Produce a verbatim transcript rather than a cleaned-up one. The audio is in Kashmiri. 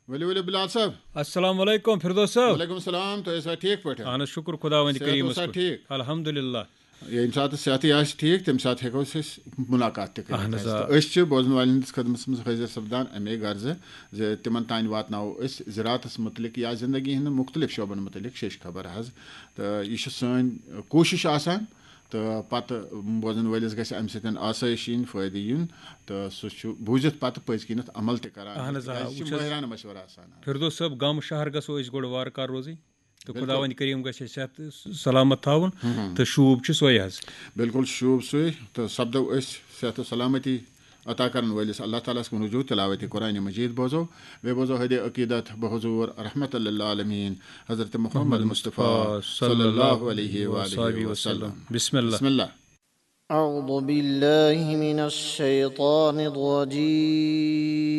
ؤلِو ؤلِو بلال صٲب۔ السلام علیکم فردوس صٲب۔ وعلیکم السلام، تُہۍ ٲسوا ٹھیٖک پٲٹھۍ؟ اہن حظ، شُکر خۄداوندِ صحت کریٖمَس اوسا کُن۔ ٹھیٖک؟ الحمدللہ۔ ییٚمہِ ساتہٕ صحتٕے آسہِ ٹھیٖک، تَمہِ ساتہٕ ہٮ۪کو أسۍ مُلاقات تہِ کٔرِتھ۔ اہن حظ، آ۔ تہٕ أسۍ چھِ بوزن والٮ۪ن ہٕنٛدِس خدمتس منٛز حٲضِر سپدان اَمے غرضہٕ زِ تِمن تانۍ واتناوو أسۍ زراعتس مُتعلق یا زندگی ہٕنٛدٮ۪ن مُختٔلِف شعبن مُتعلق شیٚچھ خبر حظ۔ تہٕ یہِ چھِ سٲنۍ کوٗشِش آسان، تہٕ پتہٕ بوزن وٲلِس گژھِ اَمہِ سۭتۍ آسٲیِش یِنۍ، فٲیدٕ یُن، تہٕ سُہ چھُ بوٗزِتھ پتہٕ پٔزۍ کِنٮ۪تھ عمل تہِ کران۔ اہن حظ، آ، تِکیازِ یہِ چھِ وٕچھ حظ۔ مٲہرانہٕ مشورٕ آسان حظ۔ فردوس صٲب، گامہٕ شہر گژھو أسۍ گۄڈٕ وارٕ کارٕ روزٕنۍ، تہٕ بِلکُل۔ خۄداوندِ کریٖم گژھِ اَسہِ صحت سلامت تھاوُن۔ تہٕ شوٗب چھُ سۄے حظ۔ بِلکُل شوٗب سُے، تہٕ سپدو أسۍ صحت و سلامتی عطا کرن وٲلِس اللہ تعالیٰ ہس کُن رجوع، تلاوت قرآن مجید بوزو، بیٚیہِ بوزو ہدِ عقیدت بحضور رحمت للعالمین حضرت محمد مصطفیٰ صلی اللہ علیہ وآلہ وسلم۔ بسم اللہ۔ بسم اللہ۔ أعوذ بالله من الشيطان الرجيم.